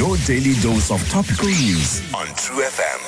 Your daily dose of topical news on True FM.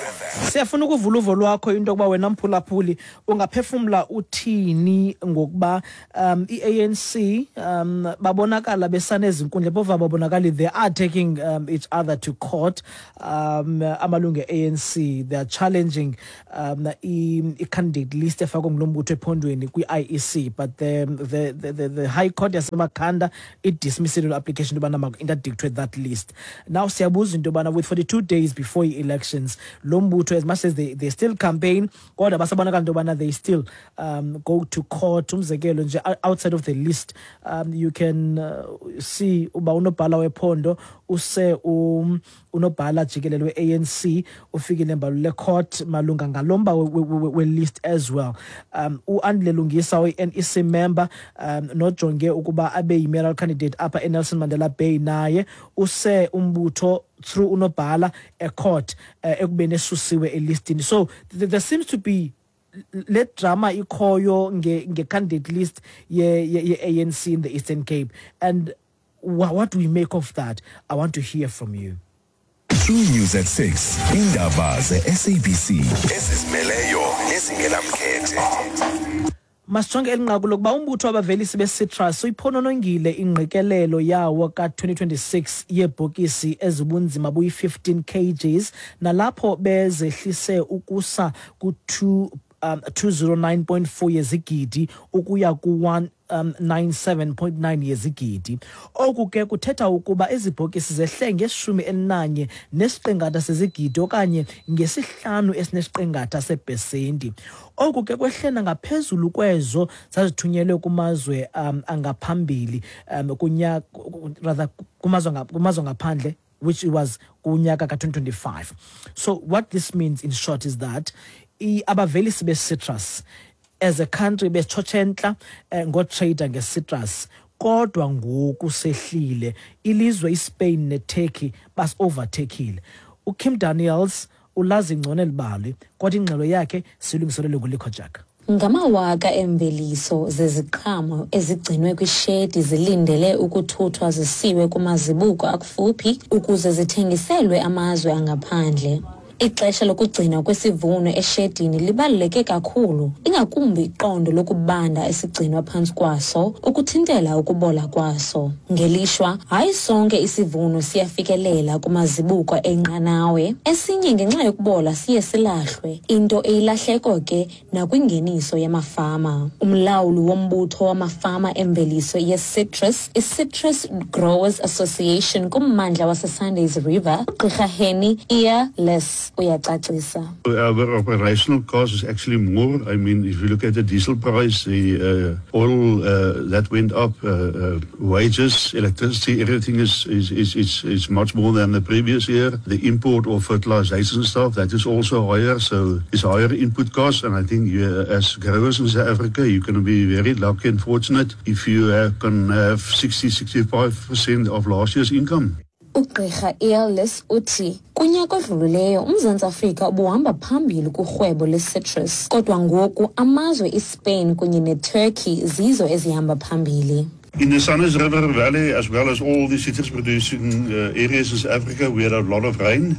Siyafuna ukuvula uvo lwakho into yokuba wena mphulaphuli ungaphefumla uthini ngokuba um i-ANC um babonakala besanezinkundla phofu babonakali they are taking um, each other to court um amalungu e-ANC they are challenging um i-candidate list efakwe ngulo mbutho ephondweni kwi-IEC but the, the, the, the, the high court yasemakhanda idismissile lo application into yobana maku-interdictwe that list now siyabuza into yobana with 42 days before i-elections lo mbutho as much as they, they still campaign kodwa basabonakala into yobana they still um, go to court umzekelo nje outside of the list um, you can uh, see uba unobhala wephondo use um, unobhala jikelele we-anc ufikile mbalule court malunga ngalo mba we-list as well um uandile lungisa oyi-nec member um nojonge ukuba abe yi-mayoral candidate apha enelson mandela bay naye use umbutho through unobhala ecourt uh, ekubeni esusiwe elistini so th there seems to be le drama ikhoyo nge-candidate list ye-ANC in the Eastern Cape and what do we make of that i want to hear from you True News at 6 indaba ze-SABC ezizimeleyo nezingenamkhethe Masijonge eli nqaku lokuba umbutho wabavelisi be-citrus uyiphononongile ingqikelelo yawo ka-2026 yeebhokisi ezibunzima buyi-15 kgs nalapho bezehlise ukusa ku-2 um, 209.4 yezigidi ukuya ku-1 um, 97.9 yezigidi. Oku ke kuthetha ukuba ezi bhokisi zehle ngeshumi elinanye nesiqingatha sezigidi okanye ngesihlanu esinesiqingatha sepesenti. Oku ke kwehle nangaphezulu kwezo zazithunyelwe kumazwe um, angaphambili um, kunyaka rather kumazwe kumazwe ngaphandle which was kunyaka ka-2025. So what this means in short is that abavelisi be-citrus as a country betshotshe entla eh, ngotrader nge-citrus kodwa ngoku sehlile ilizwe ispain neturkey basi-overtakile ukim daniels ulazi ngcono eli bali kodwa ingxelo yakhe silungiselelwe ngulikho jack Ngamawaka eemveliso zeziqhamo ezigcinwe kwishedi zilindele ukuthuthwa zisiwe kumazibuko akufuphi ukuze zithengiselwe amazwe angaphandle. Ixesha lokugcinwa kwesivuno eshedini libaluleke kakhulu, ingakumbi iqondo lokubanda esigcinwa phantsi kwaso ukuthintela ukubola kwaso. Ngelishwa, hayi sonke isivuno siyafikelela kumazibuko enqanawe, esinye ngenxa yokubola siye silahlwe, into eyilahleko ke nakwingeniso yamafama. Umlawuli wombutho wamafama emveliso ye-citrus, i-Citrus Growers Association kummandla waseSundays River, uGqirha Henny Earless uyacacisa. Our operational cost is actually more. I mean, if you look at the diesel price, the uh, oil uh, that went up, uh, uh, wages, electricity, everything is, is, is, is, is much more than the previous year. The import of fertilization stuff, that is also higher. So it's higher input costs. And I think you, as growers in South Africa, you can be very lucky and fortunate if you have, can have 60, 65% of last year's income. Ugqirha Earless uthi kunyaka odlulileyo uMzantsi Afrika ubuhamba phambili kurhwebo lwe-citrus kodwa ngoku amazwe iSpain kunye neTurkey zizo ezihamba phambili. In the Sundays River Valley, as well as all the citrus producing uh, areas in South Africa, we had a lot of rain.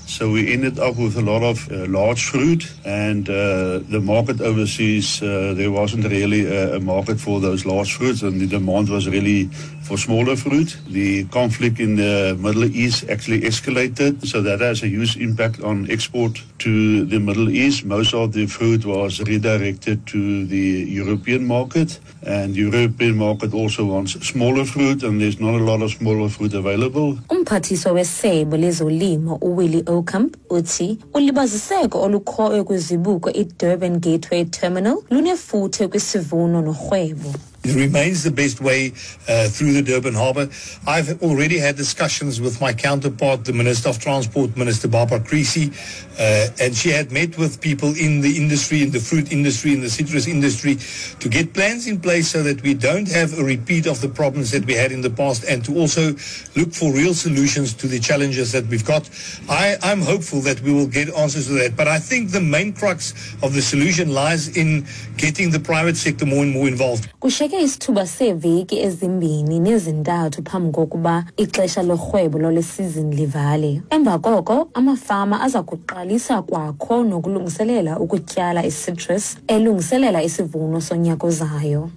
So we ended up with a lot of uh, large fruit, and uh, the market overseas, uh, there wasn't really a, a market for those large fruits, and the demand was really for smaller fruit. The conflict in the Middle East actually escalated, so that has a huge impact on export to the Middle East. Most of the fruit was redirected to the European market, and the European market also wants smaller fruit, and there's not a lot of smaller fruit available. Umphathiswa wesebe lezolimo uWillie Aucamp uthi ulibaziseko olukhoyo kwizibuko iDurban Gateway Terminal lunefuthe kwisivuno norhwebo. It remains the best way uh, through the Durban Harbour. I've already had discussions with my counterpart, the Minister of Transport, Minister Barbara Creecy, uh, and she had met with people in the industry, in the fruit industry, in the citrus industry, to get plans in place so that we don't have a repeat of the problems that we had in the past and to also look for real solutions to the challenges that we've got. I, I'm hopeful that we will get answers to that, but I think the main crux of the solution lies in getting the private sector more and more involved. Kushiyeke Kushiyeke isithuba seeveki ezimbini nezintathu phambi kokuba ixesha lorhwebo lwale sizini livale. Emva koko, amafama aza kuqalisa kwakho nokulungiselela ukutyala i-citrus elungiselela isivuno sonyaka ozayo.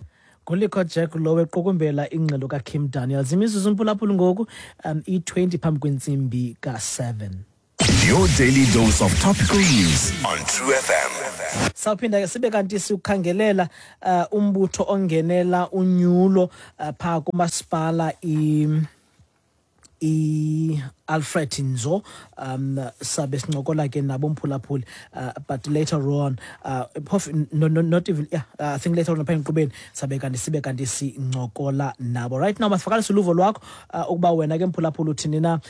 Ngulikho Jack lo equkumbela ingxelo kaKim Daniels. Imizuzu mphulaphula ngoku i-20 phambi kwentsimbi ka-7. Your daily dose of topical news on True FM. Sawuphinda ke sibe kanti siwukhangelela umbutho ongenela unyulo phaa kumasipala i-Alfred Nzo. Sabe sincokola ke nabo mphulaphuli, but later on, phofu no, not even, yeah, I think later on apha enkqubeni sabe kanti sibe kanti sincokola nabo. Right now masivakalise uluvo lwakho, ukuba wena ke mphulaphuli uthini na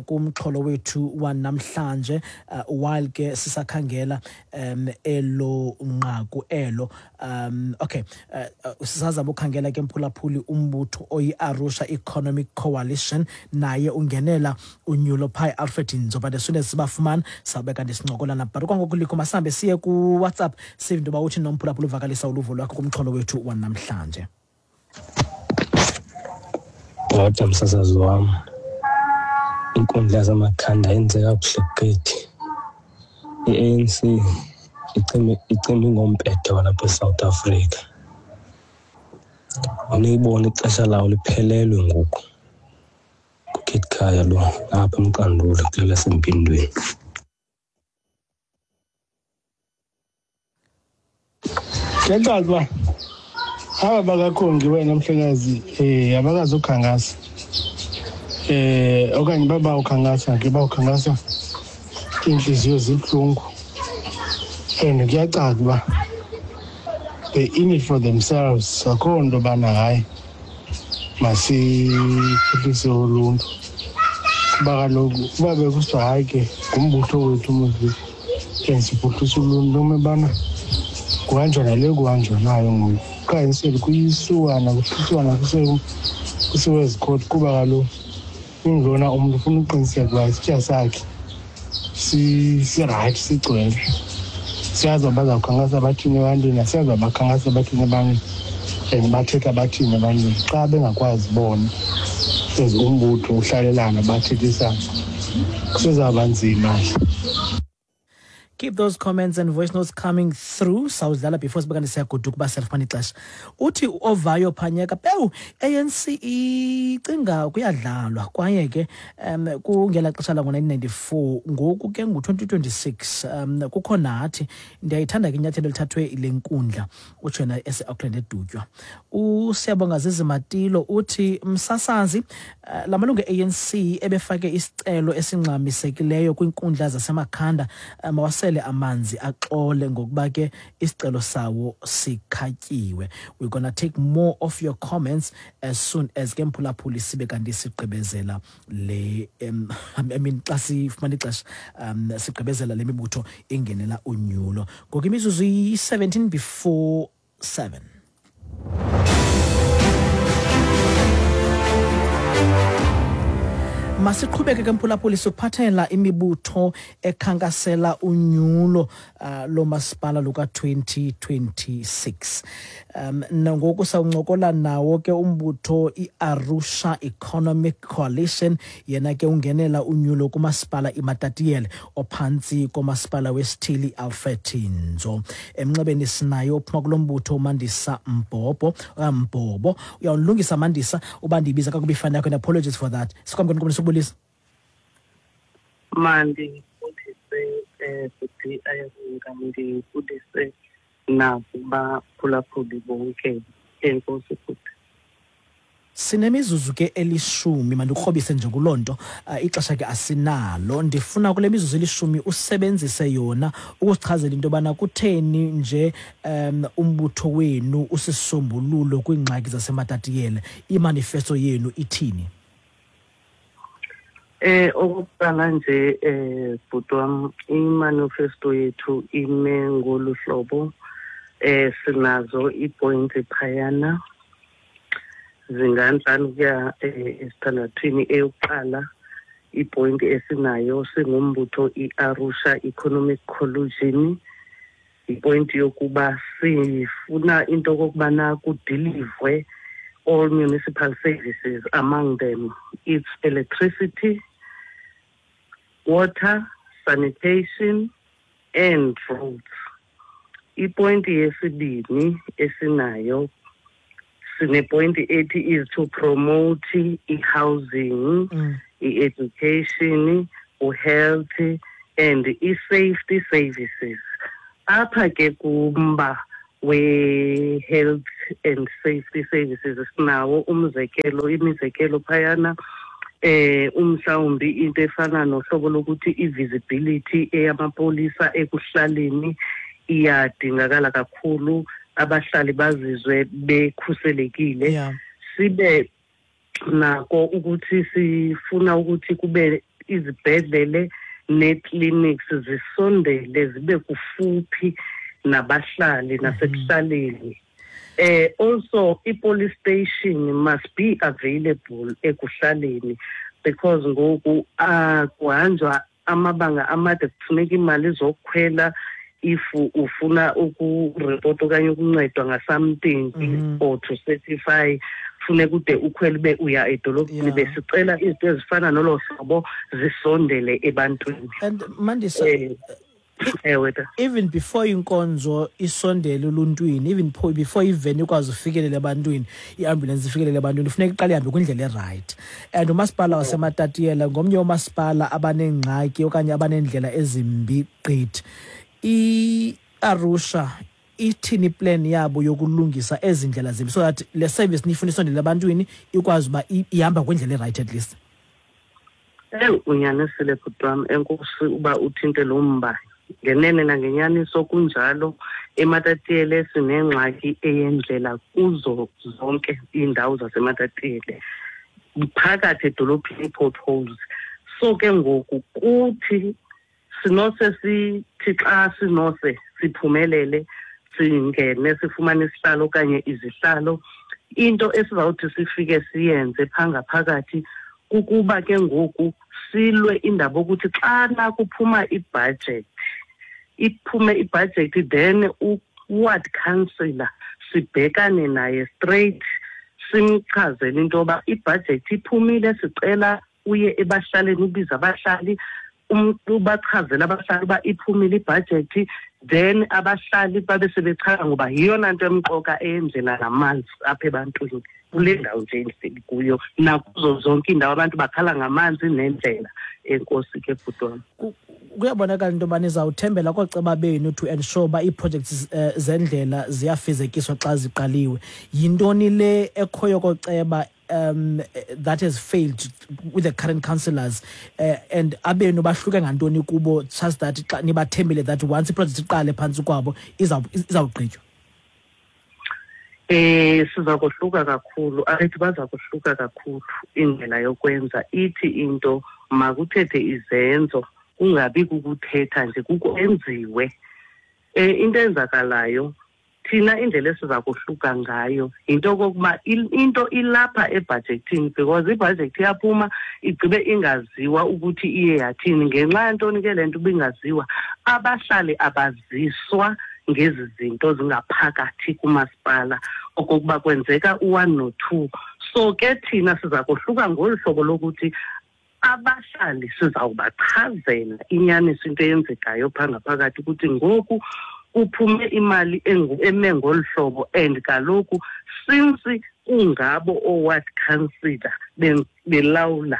kumxholo wethu wanamhlanje, while ke sisakhangela elo nqaku elo. Okay, sisazama ukhangela ke mphulaphuli umbutho oyi-Arusha Economic Coalition, naye ungenela unyulo phaa e-Alfred Nzo, but as soon as sibafumana sawube kanti sincokola nabo. But kwangoku likho masihambe siye kuWhatsApp, sive into yoba uthi nomphulaphula uvakalisa uluvo lwakho kumxholo wethu wanamhlanje. Bhota msasazi wam, inkundla yaseMakhanda yenze kakuhle gqithi. I-ANC icime ngompetha walapha eSouth Africa. Uniyibona ixesha lawo liphelelwe ngoku. KuKhaya lo apha eMqanduli kule lasempindweni. Kuyacaca uba aba bakaKhongi wena mhlekazi abakazukhankasa, okanye babawukhankasa ke, bawukhankasa iintliziyo zibuhlungu, and kuyacaca uba they in it for themselves. Akho nto bana hayi masiphuhlise uluntu, kuba kaloku uba bekusithiwa hayi ke ngumbutho wethu mos and siphuhlisa uluntu, noma bana kuhanjwa nale kuhanjwa nayo ngoku, qha instead kuyisuwana kuhlutshwana kusiwe ezikhoti, kuba kaloku ingulona umntu ufuna uqiniseka uba isitya sakhe sirayithi, sigcwele. Siyazi uba bazawukhankasa bathini ebantwini, asiyazi uba bakhankasa bathini ebantwini and bathetha bathini ebantwini xa bengakwazi bona as umbutho uhlalelana bathethisana, kusezawuba nzima. Keep those comments and voice notes coming through, sawudlala before sibe kanti siyagoduka uba siyalifumana ixesha. Uthi ovayo phanyeka pewu, ANC icinga kuyadlalwa, kwaye ke kungela xesha lango-1994, ngoku ke ngu-2026, kukho nathi. Ndiyayithanda ke inyathelo elithathwe le nkundla, utsho yena ese-Auckland eDutywa. USiyabonga Zizimatilo uthi, msasazi, la malungu e-ANC ebefake isicelo esingxamisekileyo kwiinkundla zaseMakhanda, mawasele amanzi axole ngokuba ke isicelo sawo sikhatyiwe. We're gonna take more of your comments as soon as ke mphulaphuli sibe kanti sigqibezela le, I mean xa sifumana ixesha, sigqibezela le mibutho ingenela unyulo. Ngoku imizuzu iyi-17 before 7. Masiqhubeke ke mphulaphuli sikuphathela imibutho ekhankasela unyulo lomasipala luka-2026. Nangoku sawuncokola nawo ke umbutho i-Arusha Economic Coalition, yena ke ungenela unyulo kumasipala iMatatiele ophantsi komasipala wesithili Alfred Nzo. Emnxebeni sinayo ophuma kulo mbutho, uMandisa Mbhobho, Mbhobo. Uyawulungisa Mandisa uba ndiyibiza kakubi ifani yakho, and apologies for that. Sikwamkela nkomni, sokubulisa. Mandibulise futhi ayabonga, ndibulise nakubaphulaphuli bonke. Enkosi futhi. Sinemizuzu ke 10, mandikrobise nje kuloo nto, ixesha ke asinalo. Ndifuna kule mizuzu 10 usebenzise yona ukusichazela into yobana kutheni nje umbutho wenu usisombululo kwiingxaki zaseMatatiyele. Imanifesto yenu ithini? Okokuqala nje bhuti wam, imanifesto yethu ime ngolu hlobo. Sinazo ii-points phayana zingantlanu kuya esithandathwini. Eyokuqala ipoint esinayo singumbutho i-Arusha Economic Coalition, Yipointi yokuba sifuna into okokubana kudilivwe all municipal services, among them it's electricity, water, sanitation and roads. Ipointi yesibini esinayo, sinepointi ethi is to promote i-housing, i-education, u-health and i-safety services. Apha ke kumba we-health and safety services sinawo umzekelo, imizekelo phayana, umhlawumbi into efana nohlobo lokuthi i-visibility eyamapolisa ekuhlaleni iyadingakala kakhulu, abahlali bazizwe bekhuselekile. Sibe nako ukuthi sifuna ukuthi kube izibhedlele nee-clinics zisondele, zibe kufuphi nabahlali nasekuhlaleni. Also i-police station must be available ekuhlaleni, because ngoku kuhanjwa amabanga amade, kufuneka imali zokukhwela if ufuna ukuripota okanye ukuncedwa nga-something or to certify, funeka ude ukhwele ube uya edolophini. Besicela izinto ezifana nolo hlobo zisondele ebantwini. And Mandisa, ewe ta. Even before inkonzo isondele oluntwini, even before iveni ikwazi ufikelela ebantwini, i-ambulance ifikelele ebantwini, funeka iqale ihambe kwindlela erayithi. And umasipala waseMatatiele ngomnye womasipala abaneengxaki okanye abaneendlela ezimbi gqithi. I-Arusha ithini iplan yabo yokulungisa ezi ndlela zimbi so that le service niyifuna isondele ebantwini ikwazi uba ihamba kwindlela erayithi at least? Eyi, unyanisile bhuti wam, enkosi uba uthinte lo mba. Ngenene nangenyaniso kunjalo, eMatatiele sinengxaki eyendlela kuzo zonke iindawo zaseMatatiele, phakathi edolophini ii-potholes. So ke ngoku kuthi sinose sithi xa sinose siphumelele singene sifumane isihlalo okanye izihlalo, into esizawuthi sifike siyenze phaa ngaphakathi kukuba ke ngoku silwe indaba yokuthi xana kuphuma ibhajethi, iphume ibhajethi, then u-ward councillor sibhekane naye straight, simchazele into yoba ibhajethi iphumile, sicela uye ebahlaleni, ubize abahlali, ubachazele abahlali uba iphumile ibhajethi, then abahlali babe sebechaza, ngoba yiyona nto emqoka eyendlela namanzi apha ebantwini kule ndawo nje endihleli kuyo nakuzo zonke iindawo abantu bakhala ngamanzi nendlela. Enkosi ke bhuti wam. Kuyabonakala into yoba nizawuthembela kooceba benu to ensure uba ii-projects zendlela ziyafezekiswa xa ziqaliwe. Yintoni le ekhoyo kooceba that has failed with the current councillors, and abenu bahluke ngantoni kubo such that xa nibathembile that once iproject iqale phantsi kwabo izawugqitywa? Siza kohluka kakhulu, abethi baza kohluka kakhulu indlela yokwenza. Ithi into makuthethe izenzo, kungabi kukuthetha nje, kukwenziwe. Into enzakalayo thina, indlela esiza kohluka ngayo yinto okokuba into ilapha ebhajethini, because ibhajethi iyaphuma igqibe ingaziwa ukuthi iye yathini. Ngenxa yantoni ke le nto ibingaziwa? Abahlali abaziswa ngezi zinto zingaphakathi kumasipala okokuba kwenzeka u-1 no-2. So ke thina siza kohluka ngolu hlobo lokuthi abahlali sizawubachazela inyaniso, into eyenzekayo phaa ngaphakathi, ukuthi ngoku kuphume imali eme ngolu hlobo, and kaloku since kungabo oo-ward councillor belawula,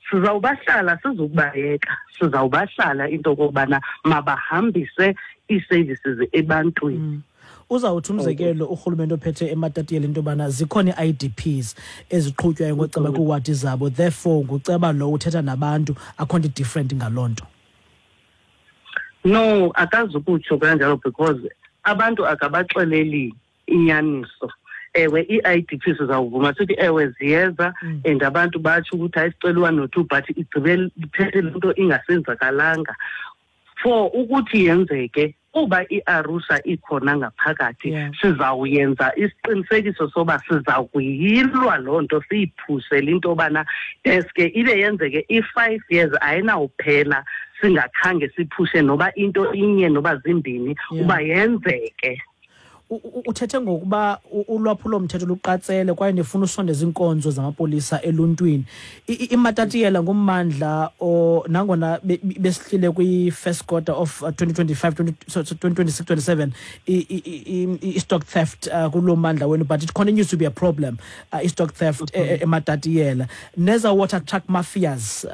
sizawubahlala, sizukubayeka, sizawubahlala into okokubana mabahambise ii-services ebantwini. Uzawuthi umzekelo urhulumente ophethe eMatatiele into yobana zikhona ii-IDPs eziqhutywayo ngoceba kwiiwadi zabo, therefore nguceba lo uthetha nabantu, akho nto different ngaloo nto? No, akazukutsho kanjalo, because abantu akabaxeleli inyaniso. Ewe, ii-IDP sizawuvuma sithi ewe ziyeza, and abantu batsho ukuthi ayisicela u-1 no-2, but igqibe iphethe le nto ingasenzakalanga. For ukuthi yenzeke, kuba i-Arusha ikhona ngaphakathi, sizawuyenza isiqinisekiso soba sizawukuyilwa loo nto, siyiphusele into yobana deske ibe yenzeke. I-5 years ayinawuphela Singakhange siphushe noba into inye noba zimbini uba yenzeke. Uthethe ngokuba ulwaphulo-mthetho luqatsele kwaye nifuna usondeza iinkonzo zamapolisa eluntwini. IMatatiyela ngummandla nangona besihlile kwi-first quarter of 2025, 2026, 27, i-stock theft kuloo mmandla wenu, but it continues to be a problem, i-stock theft eMatatiyela. Neza water truck mafias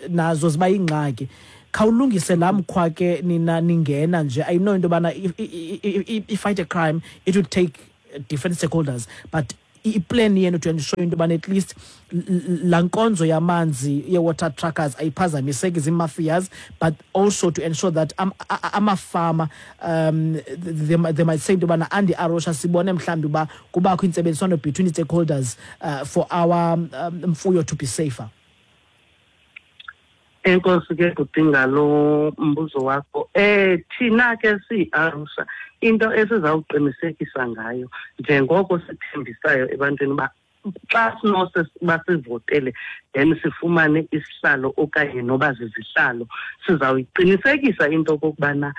nazo ziba yingxaki. Khawulungise laa mkhwa ke nina ningena nje. I know into yobana if fight a crime it would take different stakeholders, but i-plan yenu to ensure into yobana at least laa nkonzo yamanzi ye-water truckers ayiphazamiseki zii-mafias, but also to ensure that amafama they might say into yobana andi-Arusha sibone mhlawumbi uba kubakho intsebenziswano between the stakeholders for our mfuyo to be safer. Enkosi ke bhuti ngalo mbuzo wakho. Thina ke siyi-Arusha into esizawuqinisekisa ngayo njengoko sithembisayo ebantwini uba xa sinose basivotele then sifumane isihlalo okanye noba zizihlalo, sizawuyiqinisekisa into okokubana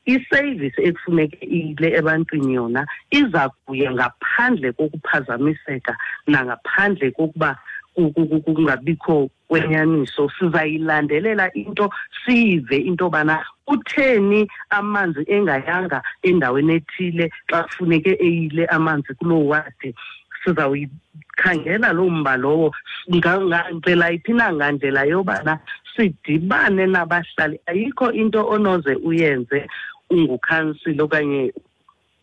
i-service ekufuneke iyile ebantwini yona iza kuya ngaphandle kokuphazamiseka nangaphandle kokuba kungabikho kwenyaniso. Sizayilandelela into, siyive into yobana kutheni amanzi engayanga endaweni ethile xa kufuneke eyile amanzi kuloo wadi. Sizawuyikhangela loo mba lowo ngandlela yiphi na, ngandlela yobana sidibane nabahlali. Ayikho into onoze uyenze ungukhansila okanye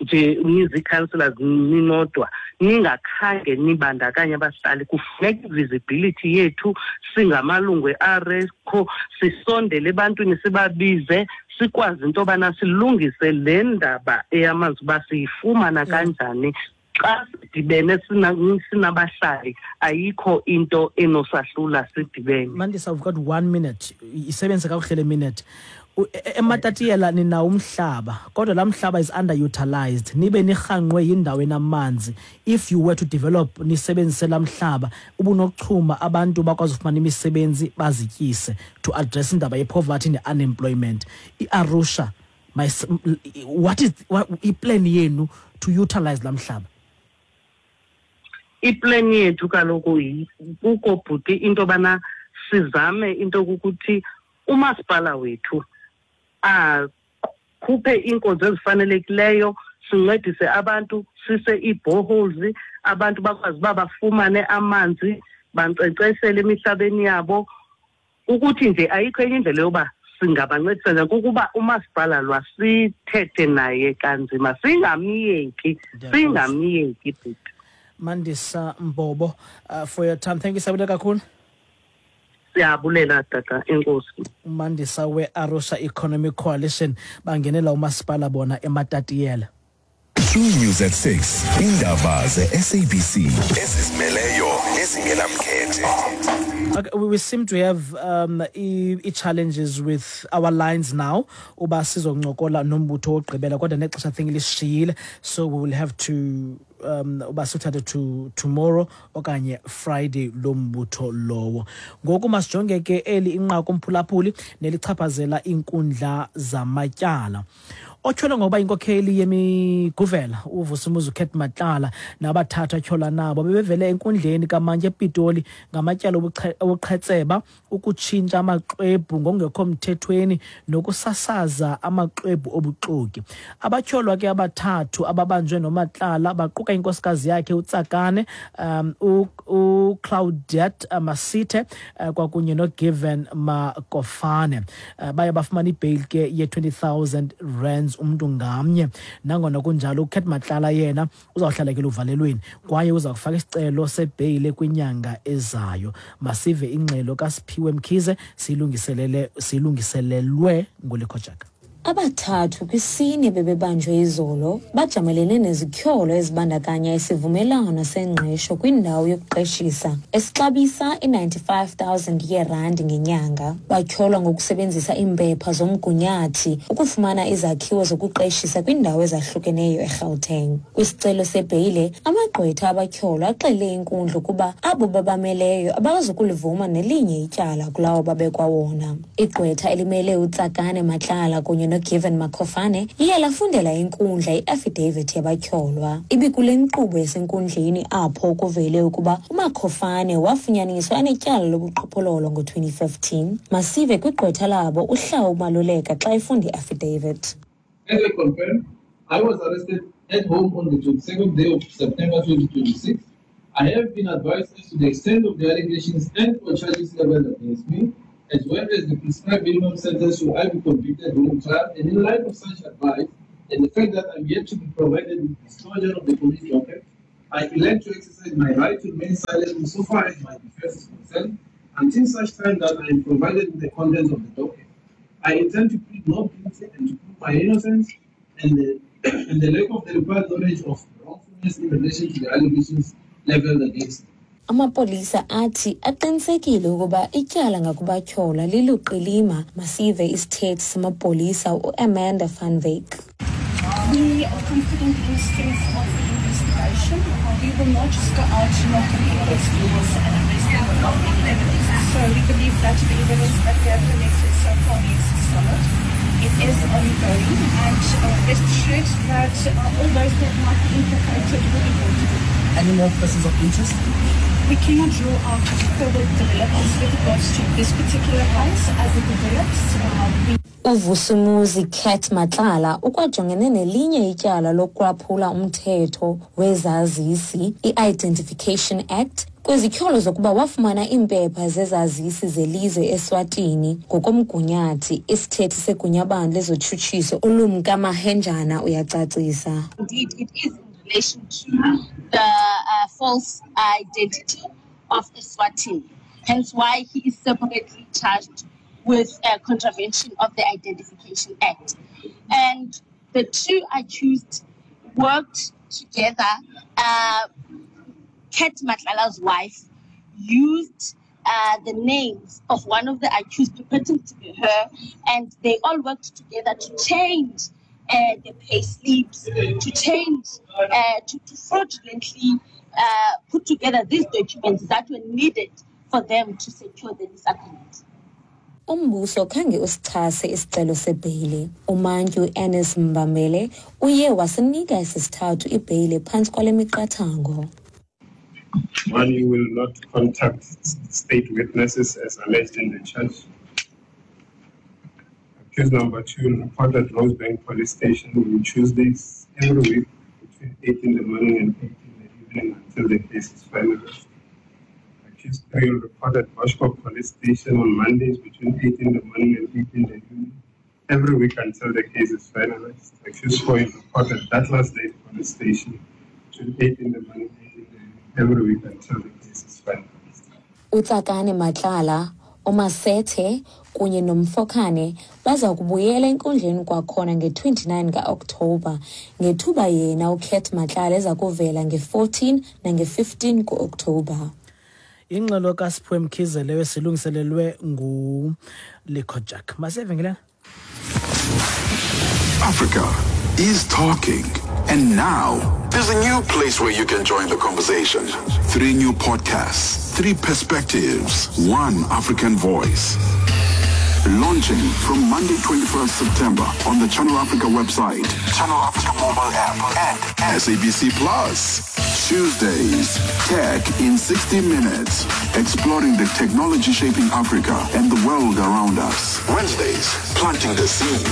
nje nizi-councillors ninodwa ningakhange nibandakanye abahlali. Kufuneka i-visibility yethu singamalungu e-ARECO sisondele ebantwini, sibabize, sikwazi into yobana silungise le ndaba eyamanzi uba siyifumana kanjani. Xa sidibene sinabahlali ayikho into enosahlula sidibene. Mandisa, we've got 1 minute. Isebenzise kakuhle le minute. EMatatiyela ninawo umhlaba, kodwa laa mhlaba is underutilized. Nibe nirhanqwe yindawo enamanzi. If you were to develop nisebenzise laa mhlaba, ubunokuchuma abantu bakwazi ufumana imisebenzi bazityise to address indaba ye-poverty ne-unemployment. I-Arusha, what is i-plan yenu to utilize laa mhlaba? I-plan yethu kaloku kuko bhuti into yobana sizame into yokuthi umasipala wethu akhuphe iinkonzo ezifanelekileyo, sincedise abantu, sise ii-boreholes, abantu bakwazi uba bafumane amanzi, bankcenkceshele emihlabeni yabo. Ukuthi nje ayikho enye indlela yoba singabancedisa nje kukuba umasipala lwasithethe naye kanzima, singamyeki, singamyeki bhuti. Mandisa Mbobo, for your time. Thank you, Siyabulela kakhulu. Siyabulela tata, enkosi. Mandisa we-Arusha Economic Coalition bangenela umasipala bona eMatatiyela. True News at 6, indaba ze-SABC ezizimeleyo nezingenamkhethe. Okay, we seem to have i-challenges with our lines now. Uba sizoncokola nombutho wokugqibela kodwa nexesha think lisishiyile, so we will have to uba sithathe to tomorrow okanye Friday lo mbutho lowo. Ngoku masijonge ke eli inqaku umphulaphuli nelichaphazela iinkundla zamatyala. Otyholwa ngokuba inkokheli yemiguvela uVusimuzi uCat Matlala nabathathu atyholwa nabo bebevele enkundleni kamantyi ePitoli ngamatyala obuqhetseba, ukutshintsha amaxwebhu ngokungekho mthethweni nokusasaza amaxwebhu obuxoki. Abatyholwa ke abathathu ababanjwe noMatlala baquka inkosikazi yakhe uTsakane, uClaudette Masithe, kwakunye noGiven Makofane. Baye bafumana ibheyili ke ye-20,000 rands umntu ngamnye. Nangona kunjalo, uCat Matlala yena uzawuhlala ke luvalelweni kwaye uza kufaka isicelo sebheyile kwinyanga ezayo. Masive ingxelo kaSiphiwe Mkhize siyilungiselelwe nguLikhojaka. Abathathu kwisine bebebanjwe izolo bajamelene nezityholo ezibandakanya isivumelwano sengqesho kwindawo yokuqeshisa esixabisa i-95,000 yeerandi ngenyanga. Batyholwa ngokusebenzisa iimpepha zomgunyathi ukufumana izakhiwo zokuqeshisa kwiindawo ezahlukeneyo eGauteng. Kwisicelo sebheyile, amagqwetha abatyholwa axele inkundla ukuba abo babameleyo abazukulivuma nelinye ityala kulawo babekwa wona. Igqwetha elimele uTsakane Matlala kunye noGiven Makhofane liye lafundela inkundla i-affidavit yabatyholwa. Ibikule nkqubo yasenkundleni apho kuvele ukuba uMakhofane wafunyaniswa enetyala lobuqhophololo ngo-2015. Masive kwigqwetha labo uHlawu Maluleka xa efunda i-affidavit. As I confirm, I was arrested at home on the 22nd day of September 2026. I have been advised as to the extent of the allegations and or charges leveled against me, as well as the prescribed minimum sentence should I be convicted during trial. And in light of such advice, and the fact that I'm yet to be provided with disclosure of the police docket, I elect to exercise my right to remain silent insofar as my defense is concerned, until such time that I am provided with the contents of the docket. I intend to plead not guilty and to prove my innocence and the, and the lack of the required knowledge of wrongfulness in relation to the allegations leveled against me. Amapolisa athi aqinisekile ukuba ityala ngakubatyholwa liluqilima. Masive isithethi samapolisa uAmanda van Wyk. We are confident in the strength of the investigation. We will not just go out knock on people's doors and arrest them without any evidence. So we believe that the evidence that we have collected so far is solid. It is ongoing, and rest assured that all those that might be implicated will be brought to book. Any more persons of interest? We cannot rule out further developments with regards to this particular case as it develops. UVusumuzi Cat Matlala ukwajongene nelinye ityala lokwaphula umthetho wezazisi i-Identification Act kwizityholo zokuba wafumana iimpepha zezazisi zelizwe eSwatini ngokomgunyathi. Isithethi segunyabantu lezotshutshiso uLumka Mahenjana uyacacisa. Indeed, it is in relation to the false identity of Eswatini. Hence why he is separately charged with contravention of the Identification Act. And the two accused worked together. Cat Matlala's wife used the names of one of the accused purporting to be her, and they all worked together to change the pay slips, to change, to fraudulently put together these documents that were needed for them to secure the lease agreement. Umbuso khange usichase isicelo sebheyile. Umantyi uErnest Mbambele uye wasinika esesithathu ibheyile phantsi kwale miqathango. One, you will not contact state witnesses as alleged in the charge. Accused number 2 will report at Rosebank Police Station on Tuesdays every week between 8 in the morning and 8 in the evening until the case is finalized. Accused 3 will report at Boschkop Police Station on Mondays between 8 in the morning and 8 in the evening every week until the case is finalized. Accused 4 will report at Douglas Dale Police Station between 8 in the morning and 8 in the evening every week until the case is finalized. UTsakane Matlala, uMasethe kunye noMfokane baza kubuyela enkundleni kwakhona nge-29 ka-Okthobha, ngethuba yena uCat Matlala eza kuvela nge-14 nange-15 ku-Okthobha. Ingxelo kaSiphiwe Mkhize leyo silungiselelwe nguLikho Jack. Masiye Africa is talking. And now, there's a new place where you can join the conversation. 3 new podcasts, 3 perspectives, 1 African voice. Launching from Monday 21st September on the Channel Africa website, Channel Africa mobile app, and SABC Plus. Tuesdays, Tech in 60 Minutes, exploring the technology shaping Africa and the world around us. Wednesdays, planting the seed,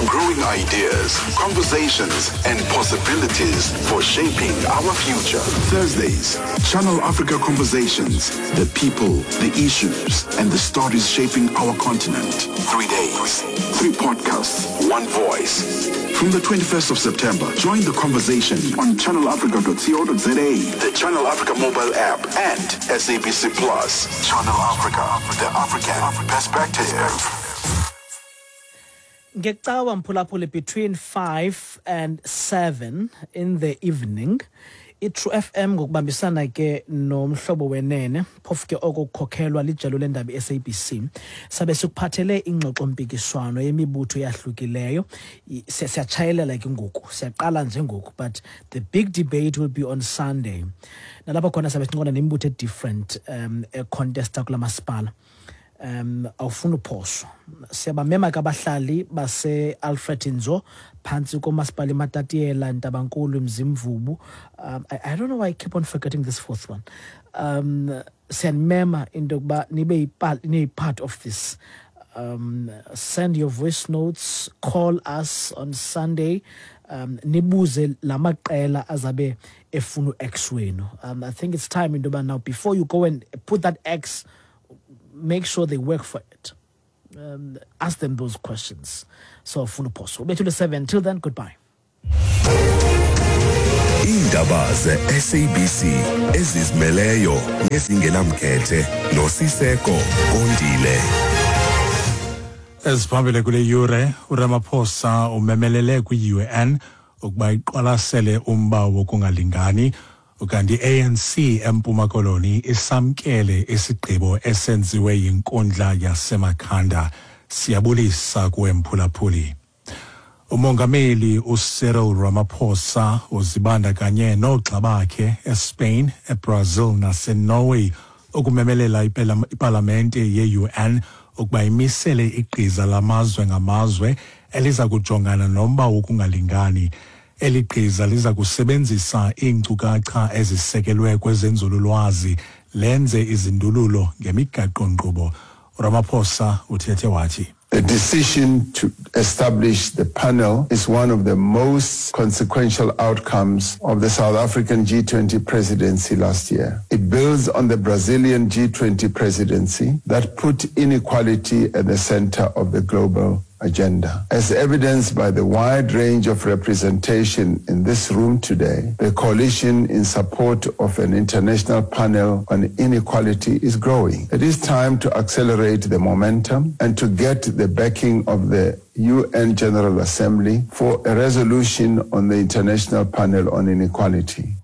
growing ideas, conversations, and possibilities for shaping our future. Thursdays, Channel Africa Conversations, the people, the issues, and the stories shaping our continent. 3 days, 3 podcasts, 1 voice. From the 21st of September, join the conversation on channelafrica.co.za, the Channel Africa mobile app, and SABC Plus. Channel Africa, the African perspective. Ngecawa, mphulaphuli, between 5 and 7 in the evening, iTrue FM ngokubambisana ke noMhlobo Wenene, phofu ke oko kukhokhelwa lijelo lendaba i-SABC, sabe sikuphathele ingxoxo-mpikiswano yemibutho eyahlukileyo. Siyatshayelela ke ngoku, siyaqala nje ngoku, but the big debate will be on Sunday, nalapho khona sabe sincokola nemibutho e-different econtesta kula masipala. Awufuni uphoswa. Siyabamema ke abahlali base-Alfred Nzo phantsi komasipala iMatatiela, Ntabankulu, Mzimvubu. I don't know why I keep on forgetting this fourth one. Siyanimema into yokuba nibe niyi-part of this. Send your voice notes, call us on Sunday, nibuze la maqela azabe efuna u-X wenu. I think it's time into yoba now, before you go and put that X, make sure they work for it. Ask them those questions. So funa uphoso. Ubethule 7. Till then, goodbye. Iindaba ze-SABC ezizimeleyo nezingenamkhethe noSiseko Kondile. Eziphambili kule yure: uRamaphosa umemelele kwi-UN ukuba iqwalasele umba wokungalingani, ukanti i-ANC eMpuma Koloni isamkele isigqibo esenziwe yinkundla yaseMakhanda. Siyabulisa kuwe, mphulaphuli. Umongameli uCyril Ramaphosa uzibandakanye noogxa bakhe eSpain, eBrazil naseNorway ukumemelela ipalamente ye-UN ukuba imisele igqiza lamazwe ngamazwe eliza kujongana nomba wokungalingani. Eli gqiza liza kusebenzisa iinkcukacha ezisekelwe kwezenzululwazi, lenze izindululo ngemigaqo-nkqubo. URamaphosa uthethe wathi: The decision to establish the panel is one of the most consequential outcomes of the South African G20 presidency last year. It builds on the Brazilian G20 presidency that put inequality at the center of the global agenda. As evidenced by the wide range of representation in this room today, the coalition in support of an international panel on inequality is growing. It is time to accelerate the momentum and to get the backing of the UN General Assembly for a resolution on the International Panel on Inequality.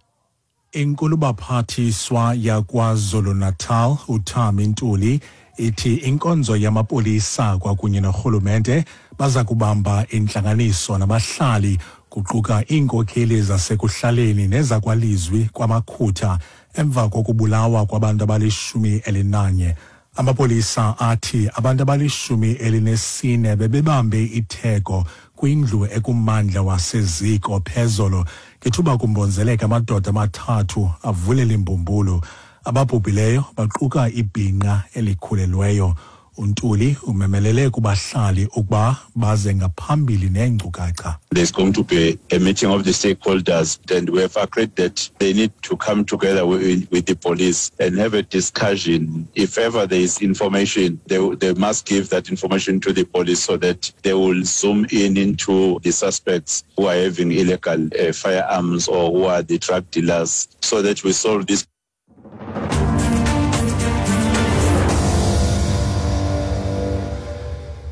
Inkulubaphathiswa yaKwaZulu-Natal uThami Ntuli ithi inkonzo yamapolisa kwakunye norhulumente baza kubamba intlanganiso nabahlali, kuquka iinkokheli zasekuhlaleni nezakwalizwi kwaMakhutha, emva kokubulawa kwabantu abali-11. Amapolisa athi abantu abali-14 bebebambe itheko kwindlu ekummandla waseZiko phezolo ngethuba kumbonzeleka amadoda amathathu avulela imbumbulu. Ababhubhileyo baquka ibhinqa elikhulelweyo. UNtuli umemelele kubahlali ukuba baze ngaphambili neenkcukacha. There's going to be a meeting of the stakeholders, and we have agreed that they need to come together with the police and have a discussion. If ever there is information, they must give that information to the police so that they will zoom in into the suspects who are having illegal firearms or who are the drug dealers, so that we solve this.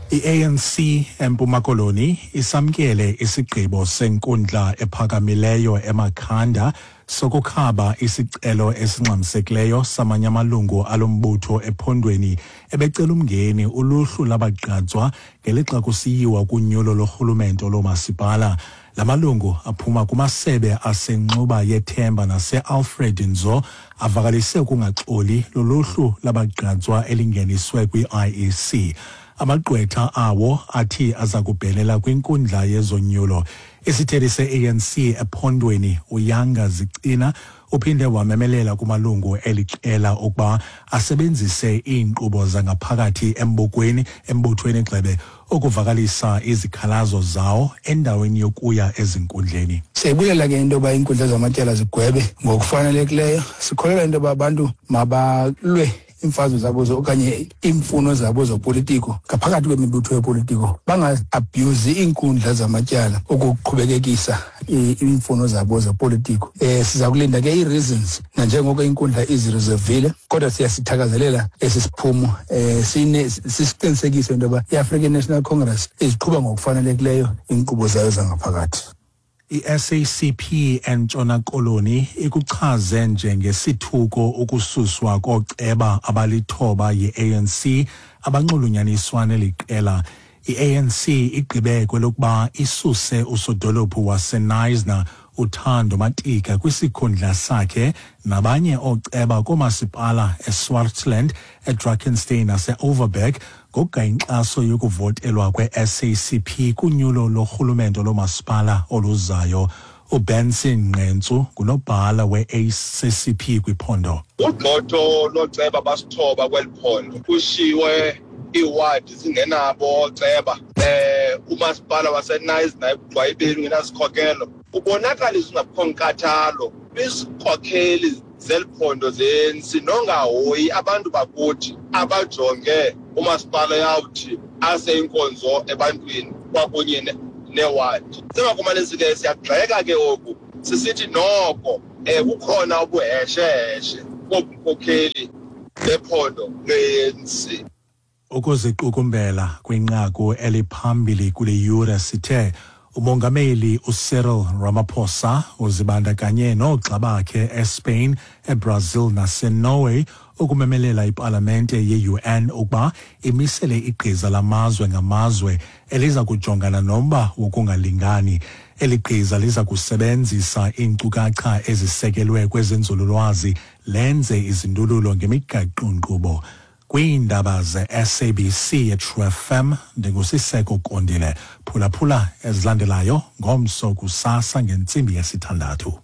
I-ANC eMpuma Koloni isamkele isigqibo senkundla ephakamileyo eMakhanda sokukhaba isicelo esingxamisekileyo samanye amalungu alombutho ephondweni ebecela umngeni uluhlu labagqatswa ngelixa kusiyiwa kunyulo lorhulumento loomasipala. La malungu aphuma kumasebe aseNxuba yeThemba nase-Alfred Nzo avakalise ukungaxoli loluhlu labagqatswa elingeniswe kwi-IEC. Amagqwetha awo athi aza kubhenela kwinkundla yezonyulo. Isithethi se-ANC ephondweni uYanga Zicina uphinde wamemelela kumalungu eliqela ukuba asebenzise iinkqubo zangaphakathi embokweni embuthweni gxebe ukuvakalisa izikhalazo zawo endaweni yokuya ezinkundleni. Siyayibulela ke into yoba iinkundla zamatyala zigwebe ngokufanelekileyo. Sikholelwa into yoba abantu mabalwe. iimfazwe zabo okanye iimfuno zabo zopolitiko ngaphakathi kwemibutho yopolitiko, bangaabhyuzi iinkundla zamatyala ukuqhubekekisa iimfuno zabo zopolitiko. Siza kulinda ke ii-reasons nanjengoko inkundla izireservile, kodwa siyasithakazelela esi siphumo, sisiqinisekise into yoba i-African National Congress iziqhuba ngokufanelekileyo iinkqubo zayo zangaphakathi. I-SACP eNtshona Koloni ikuchaze njengesithuko ukususwa kooceba abalithoba yi-ANC abanxulunyaniswa neli qela. I-ANC igqibe kwelokuba isuse usodolophu waseKnysna uThando Matika kwisikhundla sakhe nabanye ooceba koomasipala eSwartland, eDrakenstein naseOverberg ngokugaya inkxaso yokuvotelwa kwe-SACP kunyulo lorhulumento loomasipala oluzayo. uBenson Nqentsu ngunobhala we-ACCP kwiphondo. Ugxotho looceba basithoba kweli phondo kushiwe iiwadi zingenabo ooceba, umasipala waseKnysna ekugqwayibeni ungenasikhokelo, ubonakalisa ungabikho nkathalo kwizikhokheli zeli phondo ze-ANC nongahoyi abantu bakuthi abajonge umasipala yawuthi ase inkonzo ebantwini kwakunye newadi. Singakumanisi ke siyagxeka ke oku sisithi noko kukhona ubuhesheheshe bobukhokheli bephondo lwe-ANC. Ukuziqukumbela kwinqaku eliphambili kule yure sithe umongameli uCyril Ramaphosa uzibandakanye noogxa bakhe eSpain, eBrazil naseNorway ukumemelela ipalamente ye-UN ukuba imisele igqiza lamazwe ngamazwe eliza kujongana nomba wokungalingani. Eli gqiza liza kusebenzisa iinkcukacha ezisekelwe kwezenzululwazi lenze izindululo ngemigaqo-nkqubo. Kwiindaba ze-SABC eTrue FM, ndinguSiseko Kondile. Phulaphula ezilandelayo ngomso kusasa ngentsimbi yesithandathu.